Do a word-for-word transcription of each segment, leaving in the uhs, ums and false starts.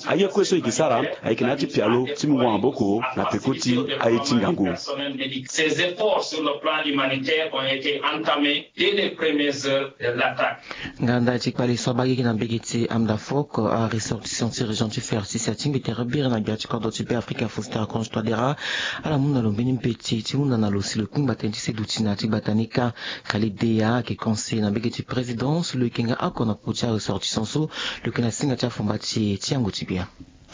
Aye kue so e yeke sara ayeke na ya ti pialo ti mungo maboko na peko ti aye ti ngangu. Nga ndali ti kpale so abagigi na mbege ti Amdafok, aressortissant ti région ti Ferti si atingbi tere biri na gbia ti kodro ti Beafrika Faustin Archange Touadéra, ala mu na lo mbeni mbeti ti hunda na lo si lo kpingba tënë ti seduti na ya ti gbata ni kâ. Khalid Deya ayeke conseiller na mbege ti présidence, lo yeke nga oko na popo ti aressortissant so lo yeke na singa ti afomba ti e ti yango ti gbia.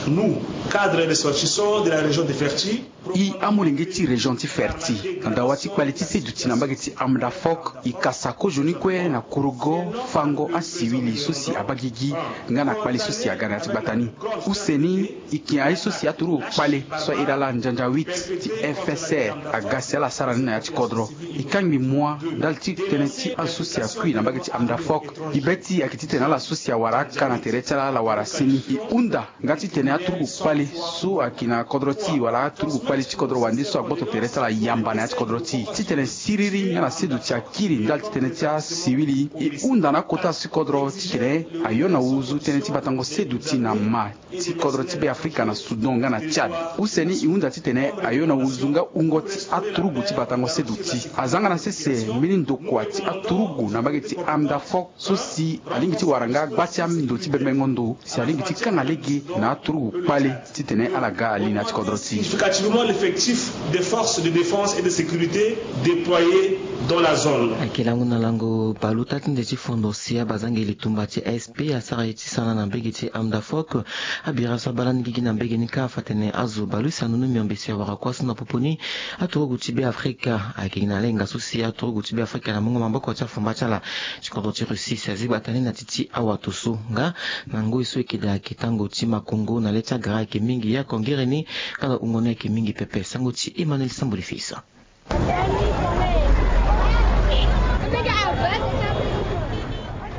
Nous, cadres ressortissants de la région de Ferti, i amolenge ti région ti Ferti, na dawa ti kpale ti seduti na mbage ti Amdafok, i kasa kozoni kue na kurugo fango asiwili so si abagigi nga na kpale so si aga na ya ti gbata ni. Use ni, i ke aye so si aturugu kpale so ahiri ala nzanza huit ti F S R aga si ala sara ni na ya ti kodro. I kangbi mua ndali ti tënë ti azo so si akui na mbage ti Amdafok. I be ti ayeke titene ala so si awara aka na tere ti ala ala wara seni. I hunda nga titene aturugu kpale so ayeke na kodro ti e wala aturugu kpale ti kodro wande so agboto tere ti ala yamba na ya ti kodro ti e titene siriri nga na seduti akiri ndali ti tënë ti asiwili. E hunda na akota so ti kodro titene ayo na wuzu tënë ti batango seduti na ma ti kodro ti Beafrika na Soudan nga na Tchad. Use ni e hunda titene ayo na wuzu nga wungo ti aturugu ti batango seduti. Aza nga na sese mbeni ndokua ti aturugu na mbage ti Amdafok so si alingbi ti wara nga gba ti ando ti bembengo ndo si alingbi ti kanga lege na aturugu kpale titene ala ga ali na ya ti kodro ti e. Significativement l'effectif des forces de défense et de sécurité déployées dans la zone. Ayeke lango na lango baleota ti nze ti fondo si abazangeli tumba ti A S P asara ye ti sana na mbege ti Amdafok. Abira so abaa lani gigi na mbege ni kâ afa atene azo baleota anu ni miombe si awara kua so na popo ni. Aturugu ti Beafrika ayeke gi na lenga so si aturugu ti Beafrika na mungo maboko ti afomba ti ala ti kodro ti Russie si azi gbata ni na ti ti awato so nga na ngoi so e yeke daa ayeke tango ti makongo na le ti agara ayeke mingi. Ye ako ngere ni nga na wungo ni ayeke mingi pepe. Sango ti Emmanuel Samboli Fils.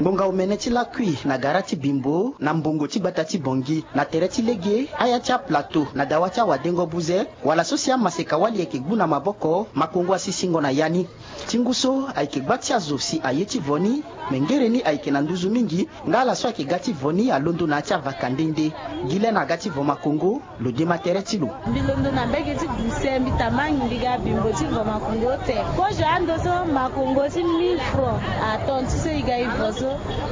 Ngbonga omene ti lakui na gara ti Bimbo na mbongo ti gbata ti Bangui na tere ti lege aya ti aplateau na dawa ti awadengo buze wala so si amaseka-wali ayeke gbu na maboko, makongo asisingo na ya ni. Ti ngu so ayeke gba ti azo si aye ti vo ni, me ngere ni ayeke na nduzu mingi. Nga ala so ayeke ga ti vo ni alondo na ya ti avaka nde nde. Gi lê na aga ti vo makongo, lo dema tere ti lo. Mbi londo na mbege ti Guse, mbi tamangi mbi ga Bimbo ti vo makongo te. Kozo ando so makongo ti mille francs atondu so e ga e vo so.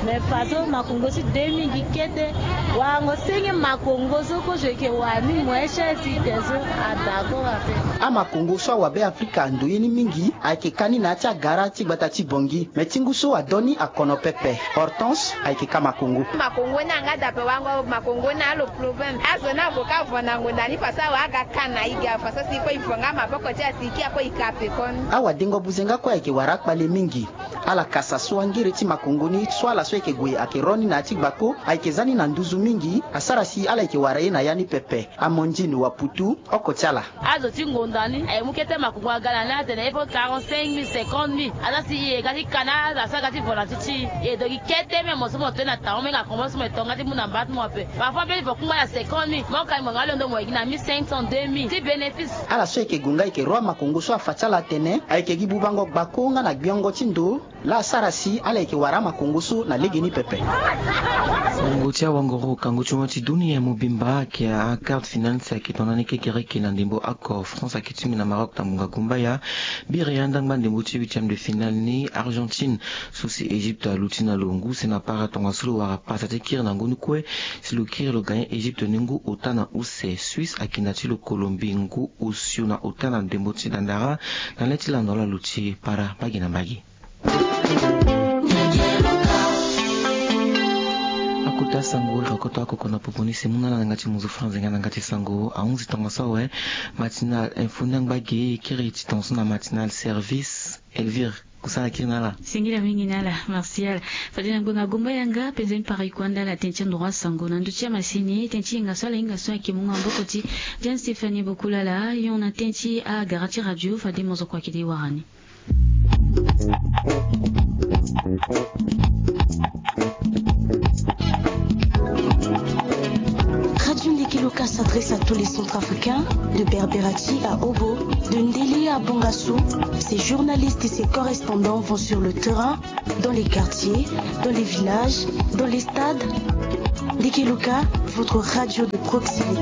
Me fa so makongo ti deux mille gi kete. Warango senge makongo so kozo e yeke wara ni moins cher ti e te so, adakora ape. Amakongo so awabe Afrika ando ye ni mingi ayeke ka ni na ya ti agara ti gbata ti Bangui. Me ti ngu so adon ni akono pepe. Hortense ayeke ka makongo. Makongo ni anga dape wango makongo ni alo problème. Azo ni ague ka vo na ngonda ni fa so awe aga ka na e ge afa so si kue e vo nga maboko ti asi ki akue e ka pekoni. Awadengo buze nga kue ayeke wara akpale mingi. Ala kasa so angere ti makongo ni so ala so ayeke gue ayeke ro ni na ya ti gbako ayeke za ni na nduzu mingi. Asara si ala yeke wara ye na ya ni pepe. Amandine Waputu, oko ti ala. Azo ti ngonda ni aye mu kete makongo aga na ni atene il faut quarante-cinq mille, cinquante mille. Aza si e ga ti ka na azo asara ga ti vo na ti ti e. E do gi kete me mo so mo to ni na taon me nga komo so mo e tonga ti mu na mba ti mo ape. Parfois mpe ti vo kungba na cinquante mille. Mo ka ni mo nga londo mo e gi na mille cinq cents, deux mille ti bénéfice. Ala so ayeke gue nga ayeke ro amakongo so afa ti ala atene ayeke gi bubango gbako nga na gbiongo ti ndo. Laa asara si ala yeke wara amakongo so na legeni pepe. Ngongo ti awangoro kango ti mo ti dunia mobimba ayeke a quart de finale si ayeke tongana ni kekereke na ndembo oko France ayeke tingbi na Maroc na ngonga gumbaya. Biri andangba ndembo ti huitième de finale ni Argentine so si Égypte aluti na lo ngu si na para tongaso lo wara pasa ti kiri na ngu ni kue. Si lo kiri lo gagner Égypte ni ngu ota na use. Suisse ayeke na ti lo Colombie ngu osio na ota na ndembo ti dandara. Na le ti lando ala luti para mbage na mbage. Akota sango e rokoto akoko na popo ni si mu na ala na yanga ti muzu franze nga na yanga ti sango ahunzi tongaso awe. Matinal info ni angba ge e kiri ti tongaso na matinal service. Elvire, kusala kiri na ala. Singila mingi na ala Martial. Fade na ngbonga gomba yanga penza ni para e kue anda ala tënë ti andoro asango na ndö ti amasini tënë ti hinga so ala hinga so ayeke mungo maboko ti Jane Stéphanie Bokulala yon na tënë ti agara ti radio fade mozoko ayeke de wara ni. Radio Ndeke Loka s'adresse à tous les Centrafricains, de Berberati à Obo, de Ndélé à Bangassou. Ses journalistes et ses correspondants vont sur le terrain, dans les quartiers, dans les villages, dans les stades. Dikeloka, votre radio de proximité.